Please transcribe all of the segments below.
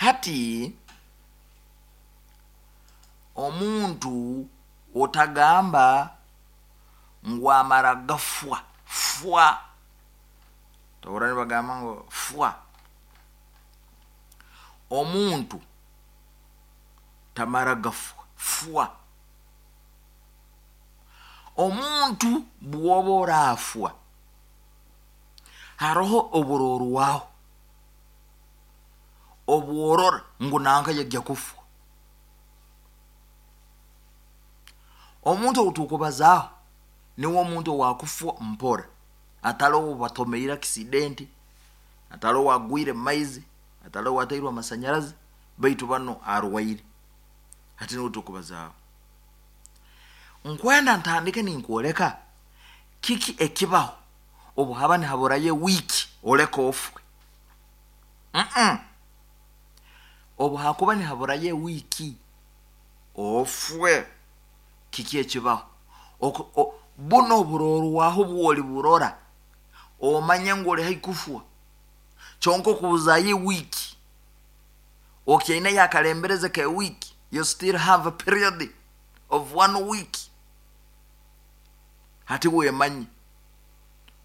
Hati omuntu otagamba ngu amara gafwa fwa, tohurra nibagamba ngu fwa. Omuntu tamara gafwa fwa. Omuntu bw'oba oraafwa, haroho oburorwaho obworora ngu nanka yajja kufwa. Omuntu ou turikubazaaho niwe omuntu owaakufwa mpora, atari ou batomeire akisidenti, atari owaagwire omu maizi, atari owaatairwe amasanyarazi, baitu banu arwaire. Hati niwe turikubazaaho. Nkwenda ntandike ninkwoleka kiki ekibaho obu haba nihaburayo ewiiki oleke ofwe. Mm-mm. Obu hakuba nihaburayo ewiiki ofwe, kiki ekibaho? Oku, o, bunu oburorwaho bwoli burora, omanye ngu oli haihi kufwa. Kyonka okubuzayo ewiiki, okyaineyo akalembereze k'ewiiki, you still have a period of one week. Hati wemanye.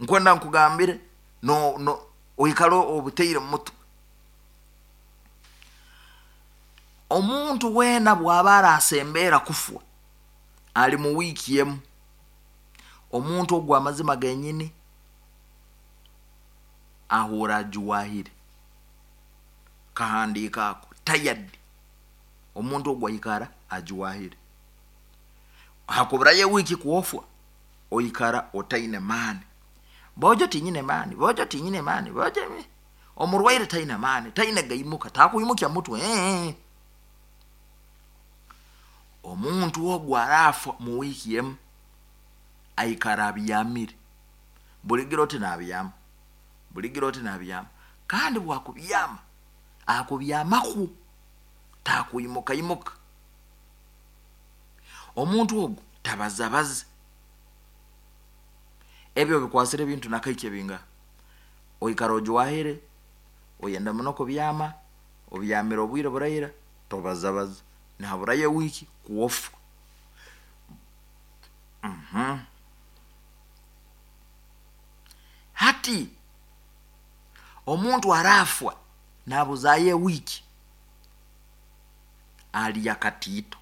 Nkwenda nkugambire, no, no, oikale obutaire mu mutwe. Omuntu weena bw'aba arasembeera kufwa, ali mu wiiki emu, omuntu ogu amazima genyini ahuura ajuwahire. Kahandiika ako, tired. Omuntu ogu aikara ajuwahire. Hakuburayo ewiiki kwofwa, oikara otaine maani. Boojo tinyine maani, boojo tinyine maani, boojo omurwaire taine maani, taine gaimuka, takwimukya mutwe. Eeh. Omuntu ogu araafwa mu wiiki emu, aikara abyamire. Buligiro oti naabyama, buligiro oti naabyama. Kandi bwakubyama, akubyamaku, takwimukaimuka. Omuntu ogu tabazabaza. Ebi obikwasire ebintu nakaikye bingaha? Oikara ojwahire, oyenda muno kubyama, obyamire obwire buraira, tobazabaza. Nihaburayo ewiiki kwofwa. Mhm. Hati omuntu araafwa naabuzaayo ewiiki, arya katiito.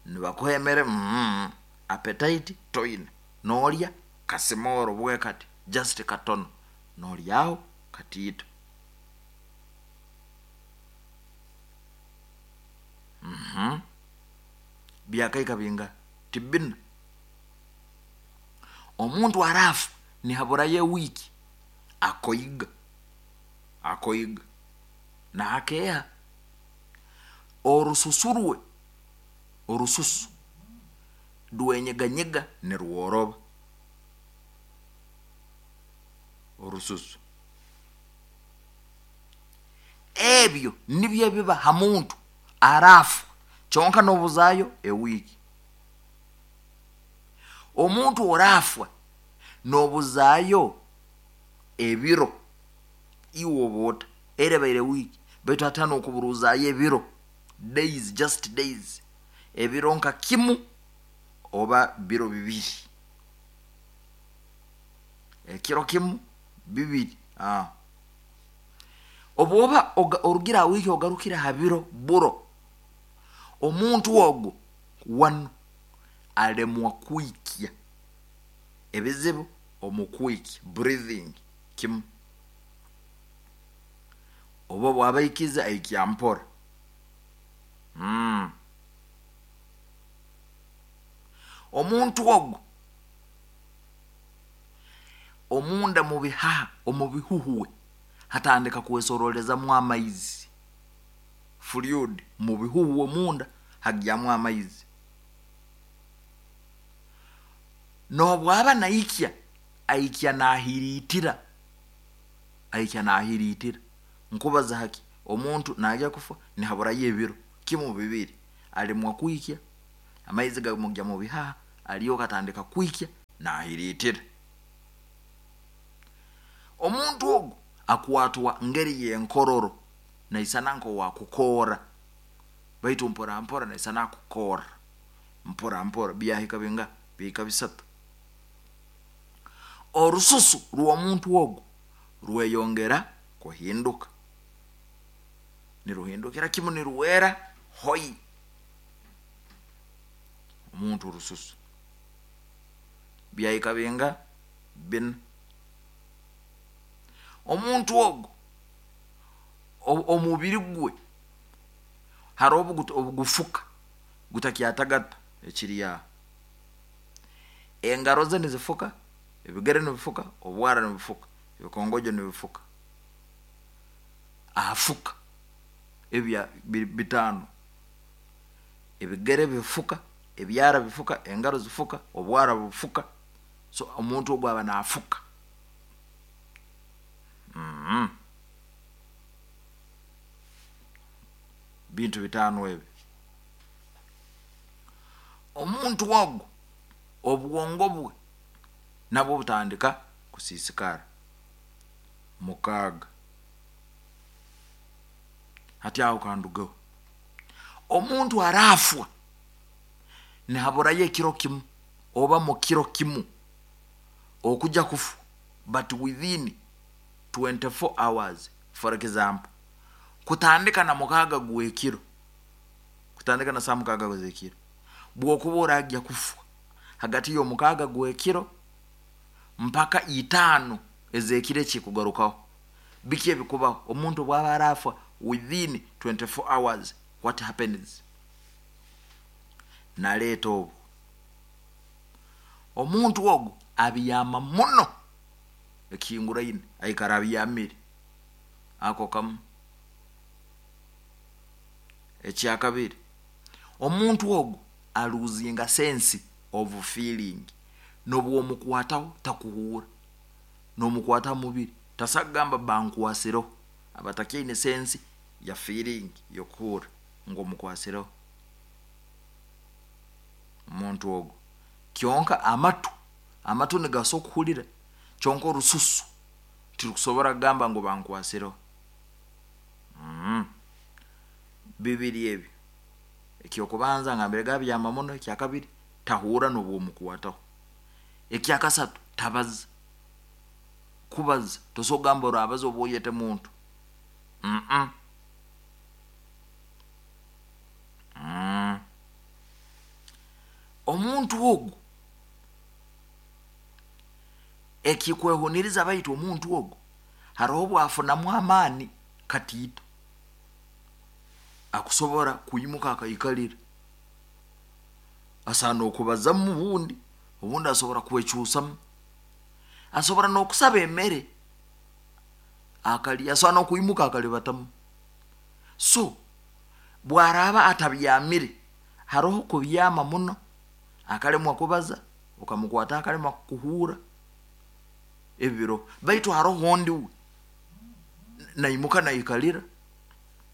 Nibakuha emere, mm, appetite toine, noorya kasimooro bwe kati, just katono, nooryaho katiito. Mhm. Byakaika bingaha? Ti bina. Omuntu araafa nihaburayo ewiiki, akoiga, akoiga, naakeeha. Orususu rwe, orususu rwenyeganyega nirworoba, orususu. Ebyo nibyo ebiba ha muntu araafa, kyonka n'obuzaayo ewiiki. Omuntu oraafwa n'obuzaayo ebiro, iwe oba ota? Era ebaire wiiki, baitu hati hanu okuburuuzaayo ebiro, days, just days, ebiro nka kimu oba biro bibiri. Ekiro kimu, bibiri, aah. Obu oba orugire ha wiiki ogarukire ha biro buro, omuntu ogu wanu alemwa kwikya ebizibu omu kwikya, breathing, kimu. Oba obu aba aikize aikya mpora. Mm. Omuntu ogu omunda mu bihaha, omu bihuhwe hatandika kwesorolezamu amaizi, fluid, mu bihuhwe omunda hagyamu amaizi. N'obu aba naikya, aikya naahiriitira, aikya naahiriitira. Nkubaza haki? Omuntu naagya kufa nihaburayo ebiro kimu bibiri, alemwa kwikya, amaizi gamugya mu bihaha, alyoka atandika kwikya naahiriitira. Omuntu ogu akwatwa ngeri y'enkororo. Naisana nk'owakukoora baitu mpora mpora naisana akukoora mpora mpora. Byahika bingaha? Bihika bisatu. Orususu rw'omuntu ogu rweyongera kuhinduka, niruhindukira kimu nirwera hoi. Omuntu orususu byahika bingaha? Bina. Omuntu ogu omubiri gwe haroho obugufuka gutakyatagata ekiri aho. Engaro ze nizifuka, ebigere nibifuka, obwara nibufuka, ebikongojo nibifuka. Afuka ebya biri bitaano. Ebigere bifuka, ebyara bifuka, engaro zifuka, obwara bufuka. So omuntu ogu aba naafuka. Bintu bitaano ebi. Omuntu ogu obwongo bwe nabwo butandika kusiisikara. Mukaaga. Hati aho kandugeho. Omuntu araafwa nihaburayo ekiro kimu oba mu kiro kimu okuja kufwa, but within 24 hours, for example, kutandika na mukaaga gw'ekiro, kutandika na saaha mukaaga z'ekiro, bw'okuba oragya kufwa hagati y'omukaaga gw'ekiro mpaka itaano ez'ekiro ekikugarukaho, biki ebikubaho? Omuntu obu aba araafwa within 24 hours, what happens? Naleeta obwo. Omuntu ogu abyama muno ekihinguraine, aikara abyamire. Ako kamu. Ekyakabiri, omuntu ogu aluzinga sense of feeling. N'obu omukwataho takuhuura, n'omukwata ha mubiri tasobola kugamba bankwasireho. Aba atakyaine sense ya feeling y'okuhuurra ngu omukwasireho. Omuntu ogu kyonka amatu, amatu nigasobola okuhurira, kyonka orususu tirukusobora kugamba ngu bankwasireho. Bibiri ebyo. Eky'okubanza ngambire gabyama muno, ekyakabiri tahuura n'obu omukwataho. Ekyakasatu tabaza. Kubaza tosobola kugamba orabaza oba oyete muntu. Omuntu ogu ekikwehuniriza baitu omuntu ogu haroho obu afunamu amaani katiito akusobora kwimuka akaikalira. Asobola n'okubazamu obundi, obundi asobora kwecuusamu. Asobora n'okusaba emere akalya, asobora n'okwimuka akalibatamu. So bwaraaba atabyamire, haroho kubyama muno akalemwa kubaza, okamukwata akalemwa kukuhuura, ebi biroho. Baitu haroho ondi we naimuka naikalira,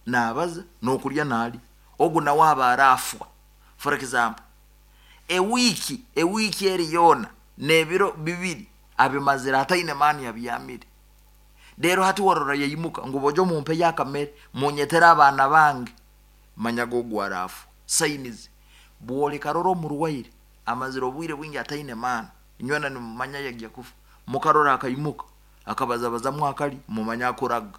naabaza, n'okulya naalya. Ogu nawe aba araafwa. For example, ewiiki, ewiiki eri yoona n'ebiro bibiri abimazire ataine maani abyamire. Reero hati warora yaimuka ngu bojo mumpeyo akamere, munyetere abaana bange, manyaga ogu araafwa. Signs, bw'olikarora omurwaire amazire obwire bwingi ataine maani, inywena nimumanya yagya kufa, mukarora akaimuka akabazabazamu akalya, mumanye akuraga.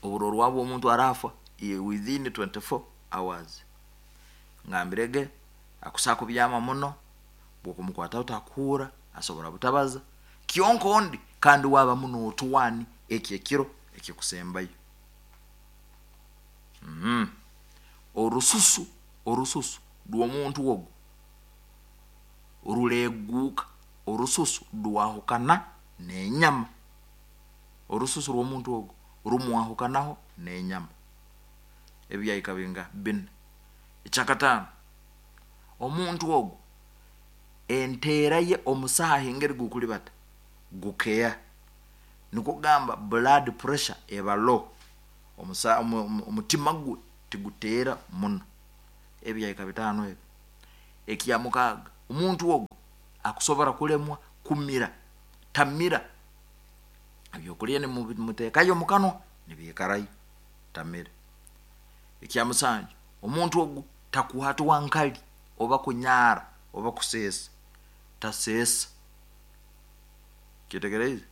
Oburorwaho bw'omuntu araafwa within 24 hours. Ngambirege akusobola kubyama muno, bw'okumukwataho takuhuura, asobora butabaza, kyonka ondi kandi we abamu n'otwani eki ekiro ekikusembayo. Orususu, orususu rw'omuntu ogu rureeguuka, orususu rwahukana n'enyama. Orususu rw'omuntu ogu rumwahukanaho n'enyama. Ebi byahika bingaha? Bina. Ekyakataano, omuntu ogu enteera ye omusaaha engeri gukulibata gukeha. Nikwo kugamba blood pressure eba low, omutima gwe tiguteera muno. Ebi byahika bitaano ebi. Ekyamukaaga, omuntu ogu akusobora kulemwa kumira, tamira. Ebyokulya nimuteekayo omu kanwa. Nibiikarayo tamire. Ekya musanju, omuntu ogu takwatwa nkari oba kunyara oba kuseesa, taseesa. Kyetegereize?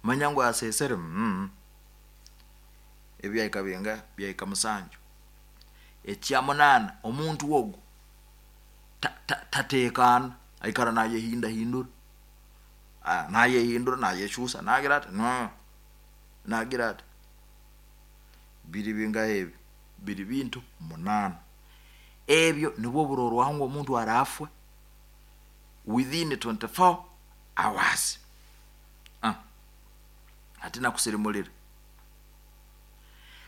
Manya ngu aseesere mm. Ebi byahika bingaha? Byahika musanju. Ekya munaana, omuntu ogu ta- ta- tateekaana, aikara naayehindahindura. Naayehindura, naayekyusa, naagira ata, no, naagira ata. Biri bingaha ebyo? Biri bintu munaana. Ebyo nibwo burorwaho ngu omuntu araafwe within 24 hours. Ah, hati nakusirimurira.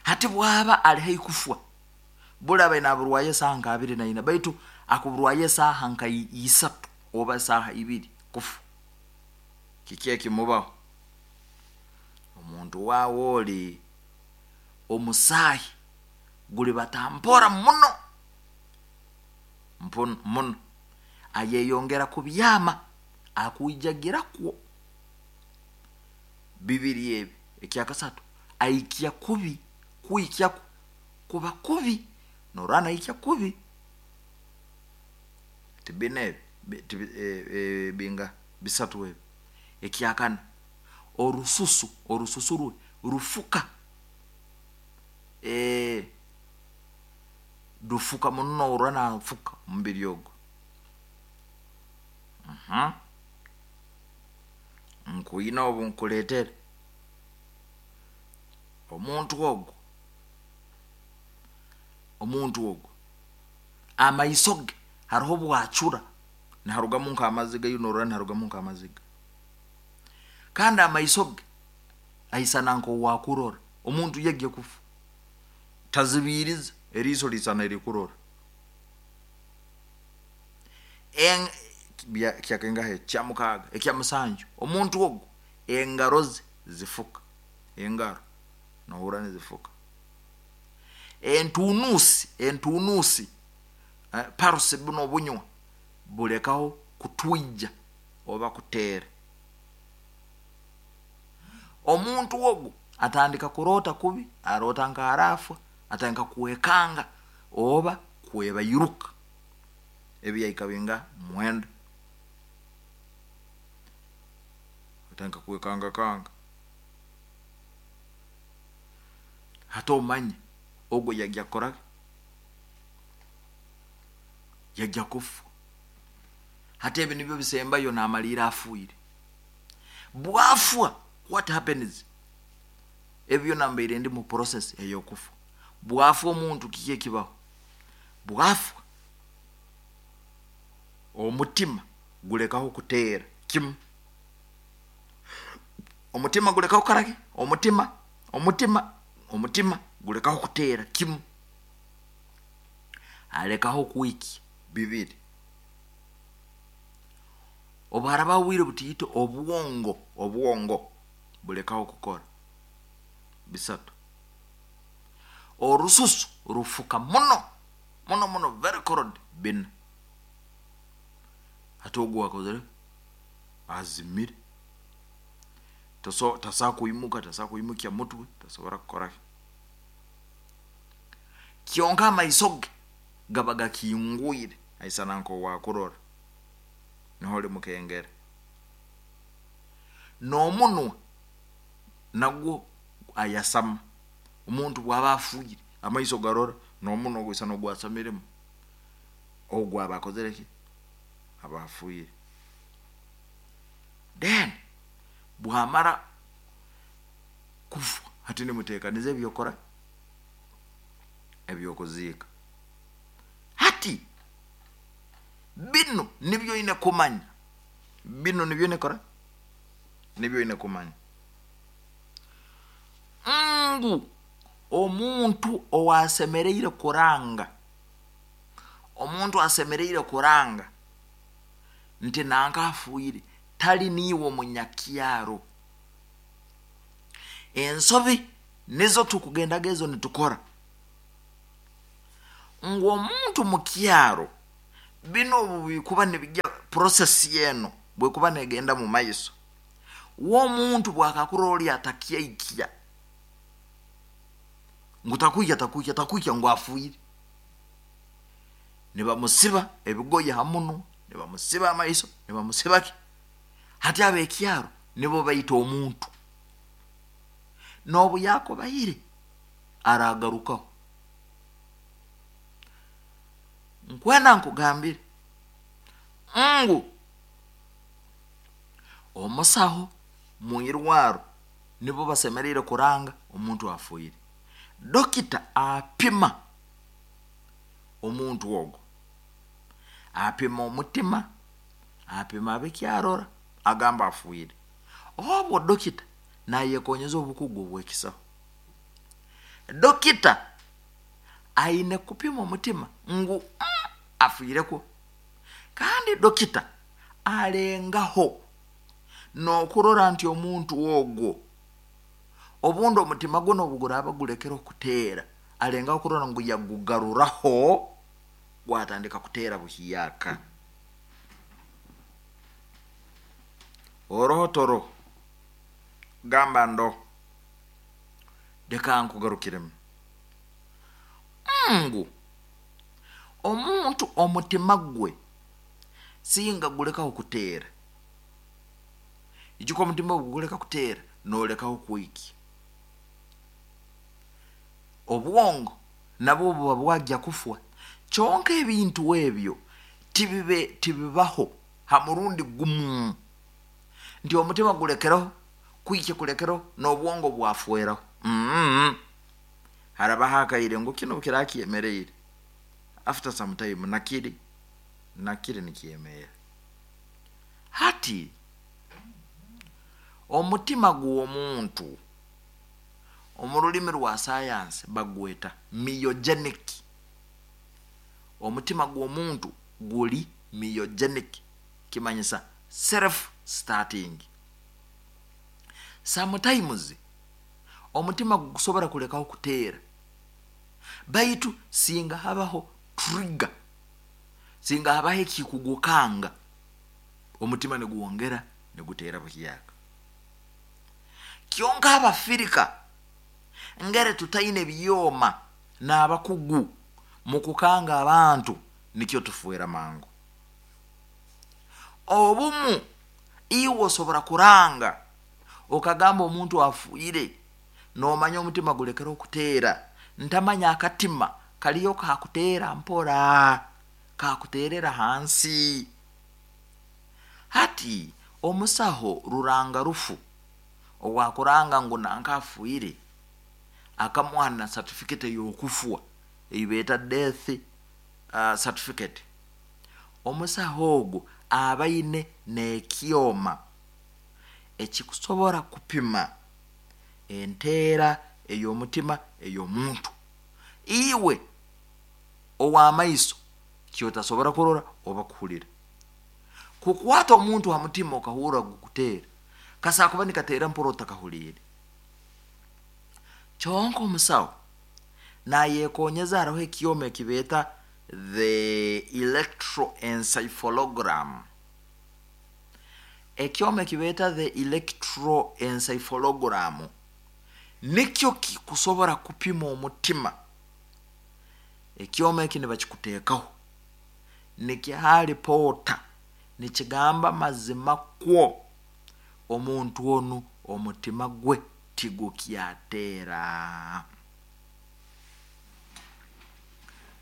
Hati bwaba ari haihi kufwa, buri abaire naaburwayo esaaha nka abiri na ina, baitu akuburwayo esaaha nka isatu oba esaaha ibiri kufa. Kiki ekimubaho? Omuntu waawe ori omusaahi guribata mpora muno muno, ayeyongera kubyama akwijagirakwo. Bibiri ebi. Ekyakasatu, aikya kubi, kwikya kwe kuba kubi, norora naikya kubi. Ti bina ebi? Ti bingaha? Bisatu ebi. Ekyakana, orususu, orususu rwe rufuka, rufuka muno norora nafuka omubiri ogu. Nkwine obu nkuleetere omuntu ogu, omuntu ogu amaiso ge hariho obwacura niharugamu nk'amaziga, iwe norora niharugamu nk'amaziga, kandi amaiso ge aisana nk'owakurora. Omuntu yagya kufa tazibiiriza, eriiso liisana erikurora. Kyakaingaha ekyo? Kyamukaaga. Ekya musanju, omuntu ogu engaro ze zifuka, engaro nohurra nizifuka. Entuunuusi, entuunuusi, pulse bunu obunywa bulekaho kutwija oba kuteera. Omuntu ogu atandika kuroota kubi, aroota nk'araafa, atandika kwekanga oba kwebairuka. Ebi yahika bingaha? Mwenda. Atandika kwekangakanga. Hati omanye ogu yagya kukora ki? Yagya kufa. Hati ebi nibyo bisembayo namaliira afiire. Bwafwa, what happens? Ebi byona mbaire ndi mu process ey'okufa. Bwafwa omuntu kiki ekibaho? Bwafwa, omutima gulekaho kuteera kimu. Omutima gulekaho kukora ki? Omutima, omutima, omutima gulekaho kuteera kimu. Alekaho kwikya bibiri. Obu harabaho obwire butiito, obwongo, obwongo bulekaho kukora bisatu. Orususu rufuka muno muno muno, very cold, bina. Hati ogu akozire azimire, tasobola kwimuka, tasobola kwimukya mutwe, tasobora kukora ki. Kyonka amaiso ge gaba gakingwire, aisana nk'owakurora, niho olimukengera. N'omunwa nagwo ayasama. Omuntu bwaba afiire, amaiso garora, n'omunwa gwisana ogwasamiremu. Ogu aba akozire ki? Aba afiire. Then bwamara kufa, hati nimuteekaniza eby'okukora eby'okuziika. Hati binu nibyo oine kumanya, binu nibyo oine kukora, nibyo oine kumanya ngu omuntu owaasemereire kuranga, omuntu asemereire kuranga nti nanka afiire tali niiwe omunyakyaro. Ensobi nizo tukugendaga ezo nitukora ngu omuntu mukyaro binu obu bikuba nibijya process eno bwekuba negenda mu maiso, we omuntu bwakakurora oli atakyaikya. Ngu takwikya takwikya takwikya ngu afiire. Nibamusiba ebigoye ha munwa, nibamusiba amaiso, nibamusiba ki. Hati ab'ekyaro nibo baita omuntu. N'obu yaakubaire araagarukaho. Nkwenda nkugambire ngu omusaho mu irwaro nibo basemeriire kuranga omuntu afiire. Dokita apima omuntu ogu, apima omutima, apima biki arora, agamba afiire. Obwo dokita nayekonyeza obukugu obw'ekisaho. Dokita aine kupima omutima ngu afiirekwo. Kandi dokita alengaho n'okurora nti omuntu ogwo obundi omutima gwe n'obu guraaba gulekere okuteera, alengaho kurora ngu yagugaruraho gwatandika kuteera buhyaka. Oroho toroho? Gamba ndoho. Leka nkugarukiremu ngu omuntu omutima gwe singa gulekaho kuteera, ijuka omutima obu guleka kuteera noolekaho kwikya. Obwongo nabwo buba bwagya kufwa. Kyonka ebintu ebyo tibibe tibibaho ha murundi gumu nti omutima gulekereho kwikya kulekereho n'obwongo bwafweraho. Mm. Harabaho akaire ngu kinu kiraba kyemereire after some time nakiri nakiri nikyemerra. Hati omutima gw'omuntu omu rulimi rwa sayansi bagweta myogenic. Omutima gw'omuntu guri myogenic kimanyisa self starting. Sometimes omutima gukusobora kulekaho kuteera baitu singa habaho trigger, singa habaho ekikugukanga, omutima nigwongera niguteera buhyaka. Kyonka Abafirika ngere tutaine byoma n'abakugu mu kukanga abantu nikyo tufwera mangu. Obumu iwe osobora kuranga okagamba omuntu afiire noomanya omutima gulekere okuteera, ntamanya akatima kaliyo kakuteera mpora, kakuteerera hansi. Hati omusaho ruranga rufu owaakuranga ngu nanka afiire, akamuha na certificate ey'okufwa ei beeta death certificate. Omusaho ogu aba aine n'ekyoma ekikusobora kupima enteera ey'omutima ey'omuntu. Iwe ow'amaiso kyotasobora kurora oba kuhulira. Kukwata omuntu ha mutima okahurra gukuteera, kasobola kuba nikateera mpora otakahuliire. Kyonka omusaho nayekonyeza haroho ekyoma eki beeta the electroencephalogram. Ekyoma eki beeta the electroencephalogram nikyo kikusobora kupima omutima. Ekyoma eki nibakikuteekaho, nikiha ripoota nikigamba mazima kwo omuntu onu omutima gwe tigukyateera.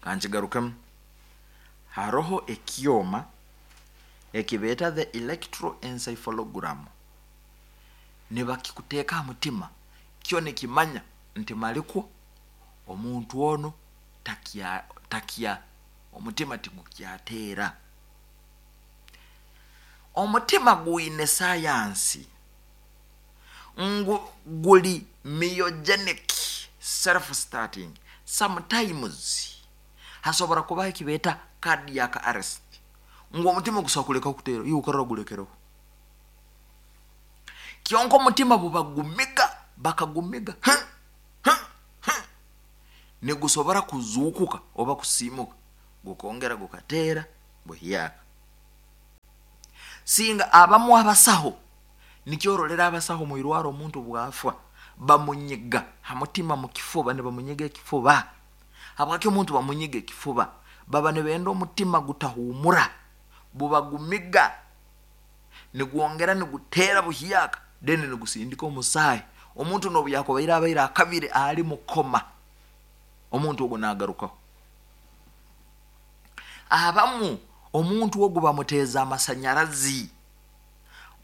Kankigarukemu, haroho ekyoma eki beeta the electroencephalogram, nibakikuteeka ha mutima, kyo nikimanya nti malikwo omuntu onu takya takya omutima tigukyateera. Omutima gwine sayansi ngu guri myogenic self starting. Sometimes hasobora kubaho eki beeta cardiac arrest ngu omutima gusobora kulekaho kuteera, iwe okarora gulekereho. Kyonka omutima bubagumiga bakagumiga nigusobora kuzuukuka oba kusiimuka gukongera gukateera buhyaka. Singa abamu abasaho, nikyo orolera abasaho omu irwaro omuntu bwafwa, Bamunyiga ha mutima mu kifuba, nibamunyiga ekifuba. Habwaki omuntu bamunyiga ekifuba? Baba nibenda omutima gutahuumura, bubagumiga, nigwongera niguteera buhyaka, then nigusindika omusaahi. Omuntu n'obu yakubaire abaire akabire ali mu koma, omuntu ogu nagarukaho. Abamu omuntu ogu bamuteeza amasanyarazi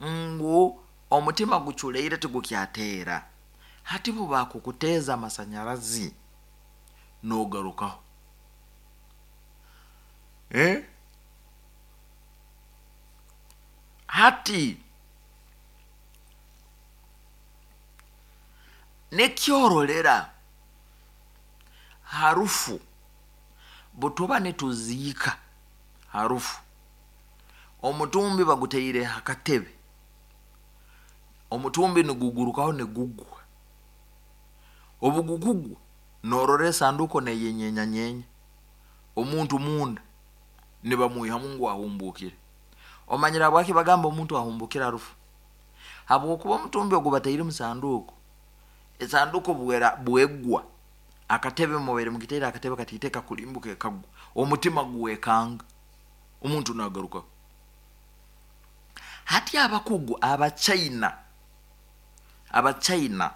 ngu omutima guculeire tigukyateera. Hati bu bakukuteeza amasanyarazi nogarukaho. Eh? Hati nekyororera harufu butuba nituziika harufu omutumbi baguteire ha katebe omutumbi nigugurukaho nigugwa obu gukugwa norora esanduuko neyenyenyanyenya omuntu munda nibamwihamu ngu ahumbuukire omanyire habwaki bagamba omuntu ahumbukire harufu habwokuba omutumbi ogu bataire mu sanduuko esanduuko bwera bwegwa akatebe mubaire mugiteire akatebe katiite kakulimbuka ekagwa omutima gwekanga omuntu nagarukaho hati abakugu abachina abachina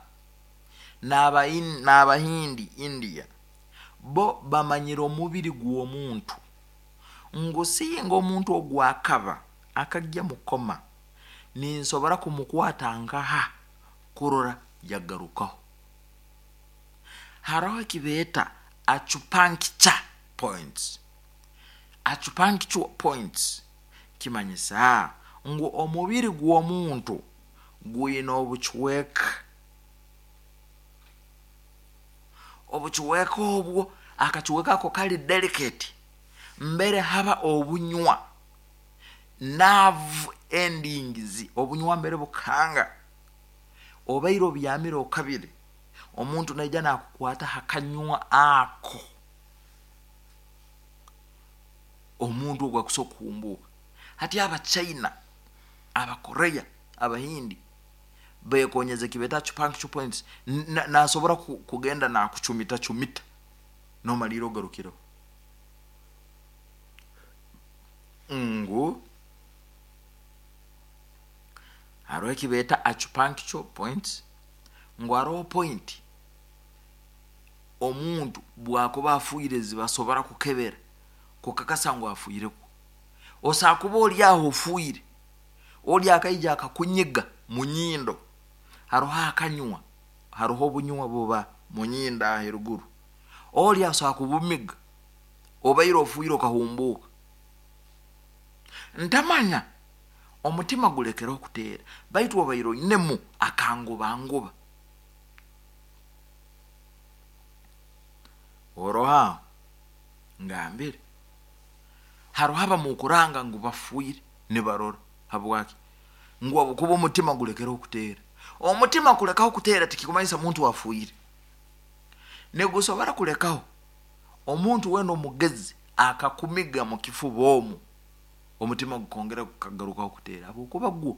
n'abahindi India bo bamanyire omubiri gw'omuntu ngu singa omuntu ogu akaba akagya mukoma ninsobora kumukwata nkaha kurora yagarukaho. Haroho ekibeeta acupuncture points. Acupuncture points kimanyisa ngu omubiri gw'omuntu gwine obucweka. Obucweka obwo akacweka ako kali delicate mbere haba obunywa nerve endings obunywa mbere bukanga obaire obyamire okabire omuntu naija nakukwata ha kanywa ako omuntu ogu akusobola kuhumbuuka. Hati Abachina, Abakorea, Abahindi bekonyeza ekibeeta acupuncture points nasobora kugenda nakucumita cumita nomaliira ogarukireho ngu haroho ekibeeta acupuncture points ngu haroho point omuntu bwakuba afiire zibasobora kukebera kukakasa ngu afiirekwo. Osobola kuba ori aho ofiire, ori akaija akakunyiga munyindo, haroho akanywa, haroho obunywa buba munyindo aho eruguru, ori asobola kubumiga obaire ofiire okahumbuuka. Ntamanya omutima gulekeraho kuteera baitu obaire oinemu akangubanguba. Oroho aho ngambire haroho abamukuranga ngu bafiire nibarora habwaki ngu habwokuba omutima gulekereho kuteera. Omutima kulekaho kuteera tikikumanyisa muntu afiire. Nigusobora kulekaho omuntu weena omugezi akakumiga mu kifuba omu omutima gukongera gukagarukaho kuteera habwokuba gwo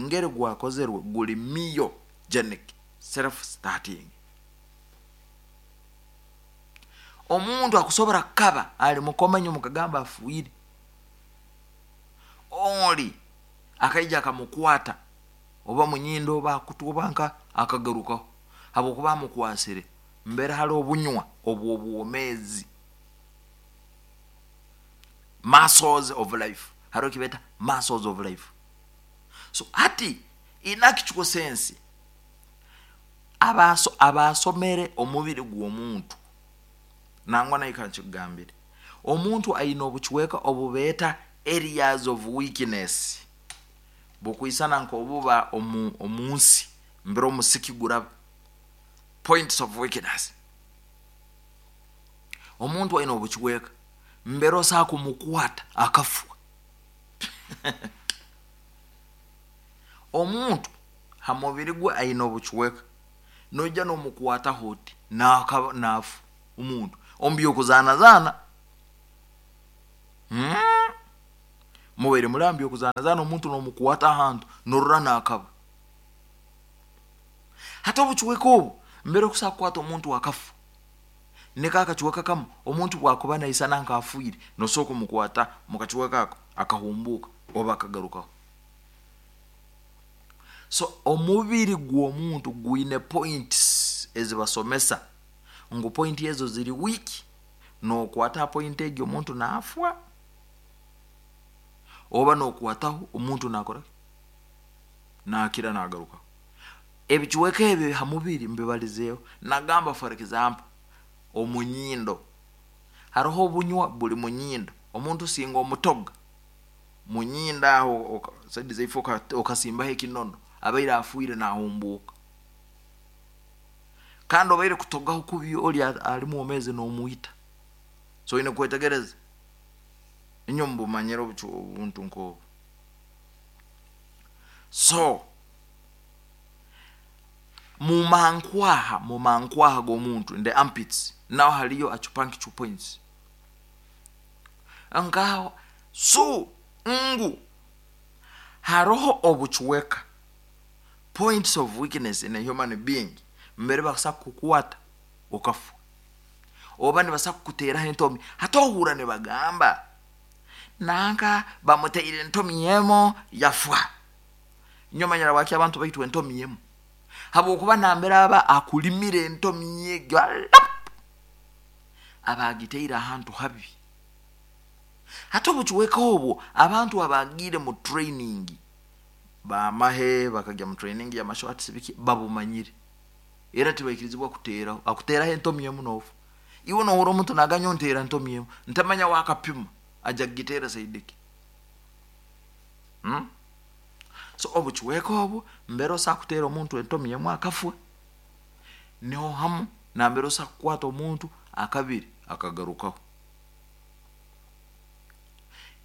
ngeri gwakozerwe guli myogenic self starting. Omuntu akusobora kukaba ali mukoma inywe mukagamba afiire, oli akaija akamukwata oba munyindo oba akutu oba nka akagarukaho habwokuba amukwasire mbere hali obunywa obw'obwomeezi muscles of life haroho ekibeeta muscles of life. So hati in actual sense abaasomere omubiri gw'omuntu nangwa nawe kankikugambire omuntu aine obucweka obubeeta areas of weakness bukwisana nk'obuba omu nsi mbere omusiki guraba points of weakness. Omuntu aine obucweka mbere osobola kumukwata akafwa. Omuntu ha mubiri gwe aine obucweka noija nomukwataho oti nafa omuntu omu by'okuzaanazaana. Mubaire muri aha by'okuzaanazaana omuntu nomukwata ahantu norora nakaba. Hati obucweka obu mbere okusobola kukwata omuntu akafa, niko akacweka kamu omuntu bwakuba naisana nk'afiire, nosobola kumukwata mu kacweka ako akahumbuuka oba akagarukaho. So omubiri gw'omuntu gwine points ezibasomesa ngu point ezo ziri weak, nokwata ha point egi omuntu nafwa, oba nokwataho omuntu nakora ki? Nakira nagarukaho. Ebicweka ebi ha mubiri mbibalizeeho. Nagamba for example, omunyindo, haroho obunywa buli munyindo, omuntu singa omutoga munyindo aho saidi zaife okasimbaho ekinono, abaire afiire nahumbuuka. Kandi obaire kutogaho kubi oli ali mwomezi nomwita. So oine kwetegereza, inywe mubumanyire obuntu nk'obu. So mumankwaha, mumankwaha g'omuntu, in the armpits, naho haliyo acupuncture points. Nkaho, so ngu haroho obucweka, points of weakness in a human being, mbere bakusobola kukukwata okafa, oba nibasobola kukuteeraho entomi. Hati ohurra nibagamba nanka bamuteire entomi emu yafwa. Nyowe manyire habwaki abantu baitwa entomi emu, habwokuba nambere aba akulimire entomi egyo alap, aba agiteire ahantu habi. Hati obucweka obwo abantu abagiire mu training bamahe, bakagya mu training ya martial arts biki, babumanyire, era tibaikirizibwa kuteeraho. Akuteeraho entomi emu nofa. Iwe nohurra omuntu naganya onteera entomi emu, ntamanya wakapima aja kugiteera saidi ki. So obucweka obu mbere osobola kuteera omuntu entomi emu akafwa, niho hamu nambere osobola kukwata omuntu akabiri akagarukaho.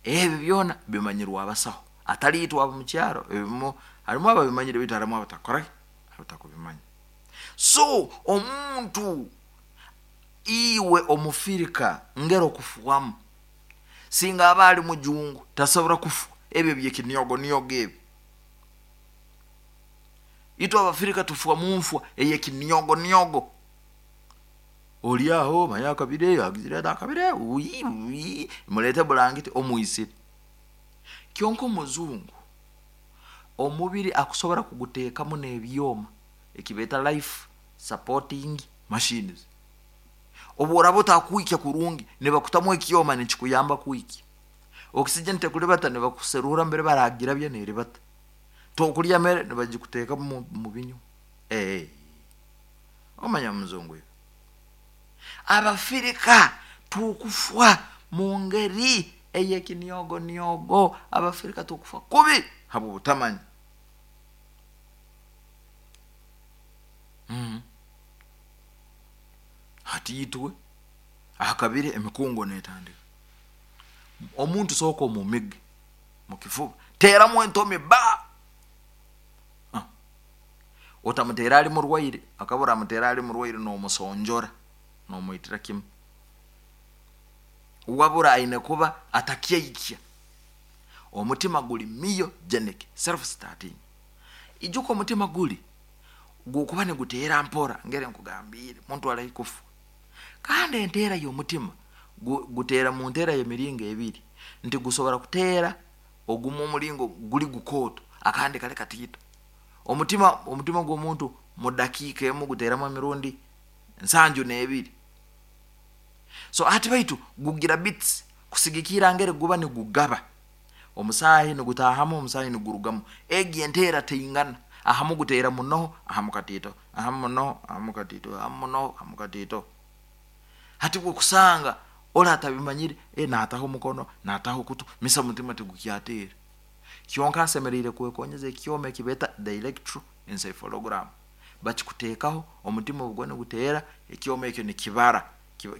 Ebi byona bimanyirwe abasaho, atari itwe ab'omukyaro, ebimu harimu ababimanyire baitu harimu abatakora ki? Abatakubimanya. So omuntu iwe omufirika ngeri okufwamu, singa aba ali mujungu tasobora kufwa ebyo ebyekiniogoniogo ebi. Itwe Abafirika tufwa munfwa eyekiniogoniogo. Oli aho manya akabire agizire ati akabire ui ui mulete bulangiti omwisire. Kyonka omuzungu omubiri akusobora kuguteekamu n'ebyoma ekibeeta life supporting machines. Obu oraba otakwikya kurungi nibakutamu ekyoma nikikuyamba kwikya. Oxygen tekuribata nibakuserura mbere baragirabya neribata. Tokurya mere nibagikuteekamu mu binywa. Eeh omanya omuzungu iwe. Abafirika tukufwa mu ngeri ey'ekiniogoniogo. Abafirika tukufwa kubi habw'obutamanya. Hati itwe akabire emikungo netandika. Omuntu sooka omumige mukifuba, teeramu entomi ba! Otamuteera ali murwaire, akaba oramuteera ali murwaire nomusonjora, nomwitira kimu. Wabura aine kuba atakyaikya. Omutima guli myogenic, self starting. Ijuka omutima guli gukuba niguteera mpora ngeri nkugambiire, omuntu ali haihi kufa. Kandi enteera y'omutima guteera mu nteera y'emiringo ebiri, nti gusobora kuteera ogumu omulingo guli gukooto akandi kali katiito. Omutima omutima gw'omuntu mu dakiika emu guteeramu emirundi 72. So hati baitu gugira beats kusigikirra ngeri guba nigugaba, omusaahi nigutaahamu omusaahi nigurugamu. Egi enteera teingana, ahamu guteera munoho ahamu katiito, ahamu munoho ahamu katiito, ahamu munoho ahamu katiito. Hati bwokusanga oli atabimanyire, nataho omukono, nataho okutu, misa omutima tigukyateera. Kyonka asemeriire kwekonyeza ekyoma ekibeeta the electroencephalogram. Bakikuteekaho, omutima obu guba niguteera, ekyoma ekyo nikibara,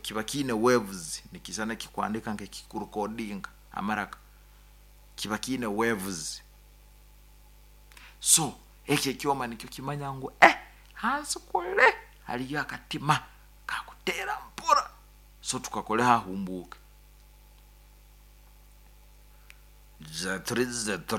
kiba kiine waves, nikisana kikuhandika nk'ekikurekodinga amaraka, kiba kiine waves. So eki ekyoma nikyo kimanya ngu hansi kule haliyo akatima kakuteera mpora, so tukakoleho ahumbuuke. Zetri zetri.